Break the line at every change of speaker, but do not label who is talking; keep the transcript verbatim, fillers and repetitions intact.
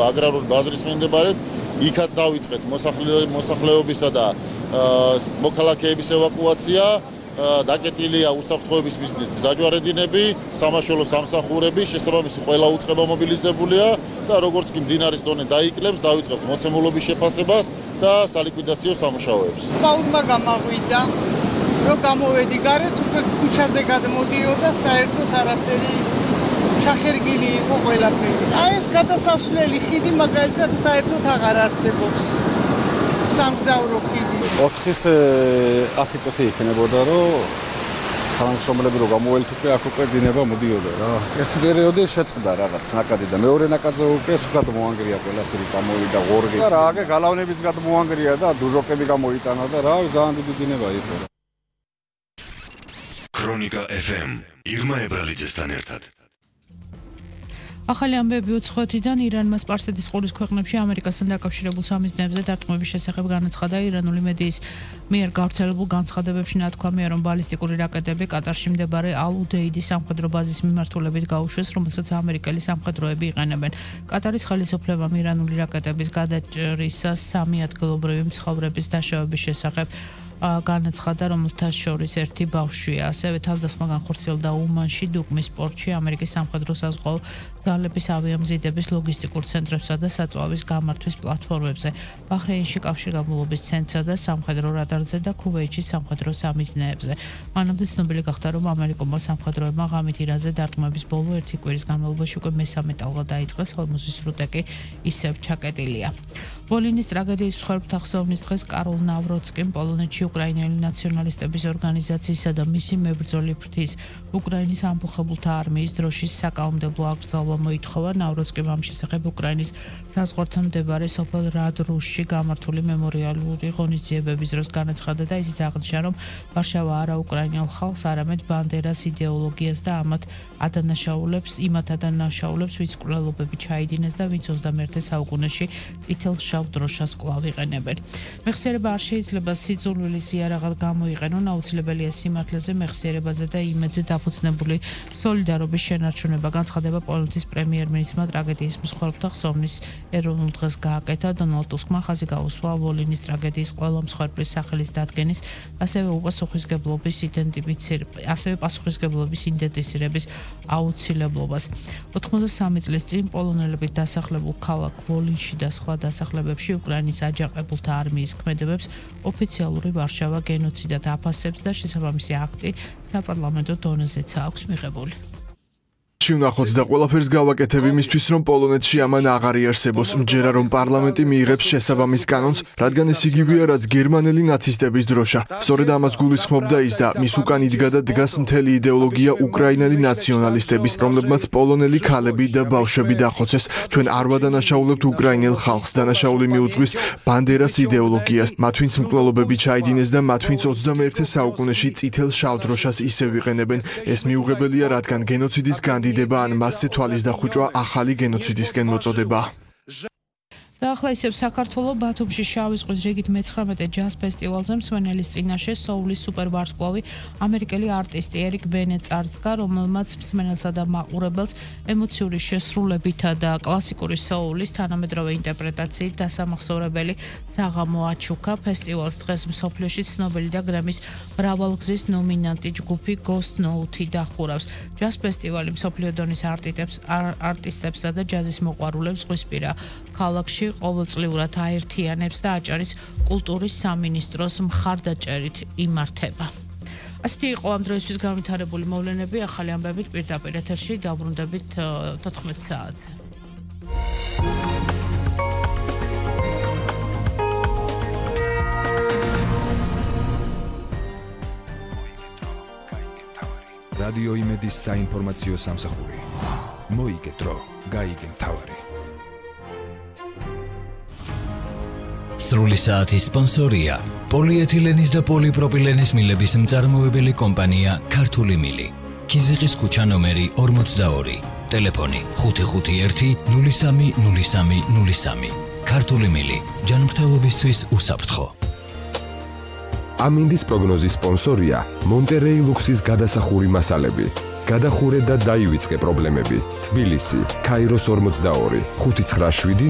აგრარული ბაზრის მიმდებარედ იქაც დავიწყეთ მოსახლეობისა და მოქალაქეების ევაკუაცია. დაკეტილია უსაფრთხოების მიზნით გზაჯვარედინები, სამაშველო სამსახურები, შესაბამისი ყველა უწყება მობილიზებულია და როგორც კი მდინარის დონე დაიკლებს, დავიწყებთ მოცემულობის შეფასებას და სალიკვიდაციო სამუშაოებს.
Ბაუდმა გამაღვიძა, რომ გამოვედი გარეთ, უკვე ქუჩაზე გადმოდიოდა, საერთოდ არაფერი ჩახერგილი იყო ყველაფერი. აი ეს გადასასვლელი ხიდი მაგალითად საერთოდ აღარ არსებობს. სამგზავრო ხიდი.
ოთხის ათი წუთი იქნებოდა, რომ თანამშრომლები რო გამოველთ უკვე აქ უკვე დინება მოდიოდა რა. ერთი პერიოდი შეწყდა რაღაც ნაკადი და მეორე ნაკადზე უკვე სულად მოანგრია ყველაფერი წამოვიდა ღორღი. და რა აგე გალავნებიც გადმოანგრია და დუჟოკები გამოიტანა და რა ძალიან დიდი დინება იყო.
ქრონიკა ეფ ემ ირმა ებრალიძესთან ერთად.
ახალი ამბები უცხოეთიდან ირანმა სპარსეთის ყურის ქვეყნებში ამერიკასთან დაკავშირებულ სამიზნეებზე დარტყმების შესახებ განაცხადა. ირანული მედიის მიერ გავრცელებულ განცხადებებში ნათქვამია, რომ ბალისტიკური რაკეტები კატარში მდებარე ალ-უდეიდის სამხედრო ბაზის მიმართულებით გაუშვეს, რომელსაც ამერიკელი სამხედროები იყენებენ. კატარის ხელისუფლებამ ირანული რაკეტების გადაჭრისას სამი ადგილობრივი მცხოვრების დაშავების შესახებ განაცხადა, რომელთა შორის ერთი ბავშვია. ასევე თავდასხმა განხორციელდა უმანში, დუკმის პორტში, ამერიკის სამხედრო საზღვაო ძალების ავიამზიდების ლოგისტიკურ ცენტრებსა და საწვავის გამართვის პლატფორმებზე, ბაჰრეინში კავშირგაბმულობის ცენტრსა და სამხედრო რადარზე და ქუვეითში სამხედრო სამიზნეებზე. მანამდე ცნობილი გახდა, რომ ამერიკულმა სამხედროებმა ღამით ირანზე დარტყმების ბოლო ერთი კვირის განმავლობაში უკვე მესამე ტალღა დაიწყეს, ხოლმე სრუტე კი ისევ ჩაკეტილია. ვოლინის ტრაგედიის მსხვერპლთა ხსოვნის დღეს კარლ ნავროცკიმ პოლონეთში უკრაინელი ნაციონალისტების ორგანიზაციისა და მისი მებრძოლი ფრთის უკრაინის ამბოხებულთა არმიის დროშის საკანონმდებლო აკრძალვა მოითხოვა. ნავროცკიმ ამ შესახებ უკრაინის საზღვართან მდებარე სოფელ რადრუშში გამართული მემორიალური ღონისძიებების დროს განაცხადა და ისიც აღნიშნა, რომ ვარშავა არა უკრაინელ ხალხს, არამედ ბანდერას იდეოლოგიას და ამათ ადანაშაულებს, იმათ ადანაშაულებს, ვინც მკვლელობები ჩაიდინეს და ვინც ოცდამეერთე საუკუნეში წითელ შავ დროშას კვლავ იყენებენ. მეხსიერება არ შეიძლება სიძულვილის იარაღად გამოიყენონ, აუცილებელია სიმართლეზე, მეხსიერებაზე და იმედზე დაფუძნებული სოლიდარობის შენარჩუნება. განცხადება პოლონეთის პრემიერ-მინისტრმა ტრაგედიის მსხვერპლთა ხსოვნის ეროვნულ დღეს გააკეთა. დონალდ ტუსკმა ხაზი გაუსვა ვოლინის ტრაგედიის ყველა მსხვერპლის სახელის დადგენის, ასევე უპასუხისმგებლობის იდენტიფიცირების, ასევე პასუხისმგებლობის იდენტიფიცირების აუცილებლობას. ოთხმოცდასამი წლის წინ პოლონელები დასახლებულ ქალაქ ვოლინში და სხვა დასახლებებში უკრაინის აჯანყებულთა არმიის ქმედებებს ოფიციალური ვარშავა გენოციდად აფასებს და შესაბამისი აქტი საპარლამენტო დონეზეც აქვს მიღებული.
ვნახოთ და ყველაფერს გავაკეთებ იმისთვის, რომ პოლონეთში ამან აღარ იარსებოს. მჯერა რომ პარლამენტი მიიღებს შესაბამის კანონს, რადგან ეს იგივეა, რაც გერმანელი ნაცისტების დროშა. სწორედ ამას გულისხმობდა ის და მის უკან იდგა და დგას მთელი იდეოლოგია უკრაინელი ნაციონალისტების, რომლებმაც პოლონელი ქალები და ბავშვები დახოცეს. ჩვენ არ ვადანაშაულებთ უკრაინელ ხალხს, დანაშაული მიუძღვის ბანდერას იდეოლოგიას. მათ ვინც მკვლელობები ჩაიდინეს და მათ ვინც ოცდამეერთე საუკუნეში წითელ შავ დროშას ისევ იყენებენ. ეს მიუღებელია, რადგან გენოციდის განდიდება ან მასზე თვალის დახუჭვა ახალი გენოციდისკენ მოწოდება.
და ახლა ისევ საქართველოს ბათუმში შავი ზღვის რიგით მეცხრამეტე ჯაზ ფესტივალზე მსმენელის წინაშე სოულის სუპერვარსკვლავი ამერიკელი არტისტი ერიკ ბენი წარდგა, რომელმაც მსმენელსა და მაყურებელს ემოციური შესრულებითა და კლასიკური სოულის თანამედროვე ინტერპრეტაციით დასამახსოვრებელი საღამო აჩუქა. ფესტივალს დღეს მსოფლიოში ცნობილი და გრემის მრავალგზის ნომინანტი ჯგუფი Ghost Note დახურავს. ჯაზ ფესტივალი მსოფლიო დონის არტისტებსა და ჯაზის მოყვარულებს ზღვისპირა ქალაქში ყოველწლიურად აერთიანებს და აჭარის კულტურის სამინისტროს მხარდაჭერით იმართება. ასეთი იყო ამ დროისთვის განვითარებული მოვლენები. ახალი ამბებით პირდაპირ ეთერში დავბრუნდებით თოთხმეტ საათზე.
რადიო იმედის საინფორმაციო სამსახური. მოიგე დრო, გაიგე მთავარი.
სრული საათის სპონსორია პოლიეთილენის და პოლიპროპილენის მილების მწარმოებელი კომპანია ქართული მილი. ქიზიყის ქუჩა ნომერი ორმოცდაორი. ტელეფონი ხუთი ხუთი ერთი ნული სამი ნული სამი ნული სამი. ქართული მილი. ჯანმრთელობისთვის უსაფრთხო.
ამინდის პროგნოზის სპონსორია მონტერეი ლუქსის გადასახური მასალები. გადახურე და დაივიწყე პრობლემები. თბილისი, ქაიროს ორმოცდაორი, ხუთი ცხრა შვიდი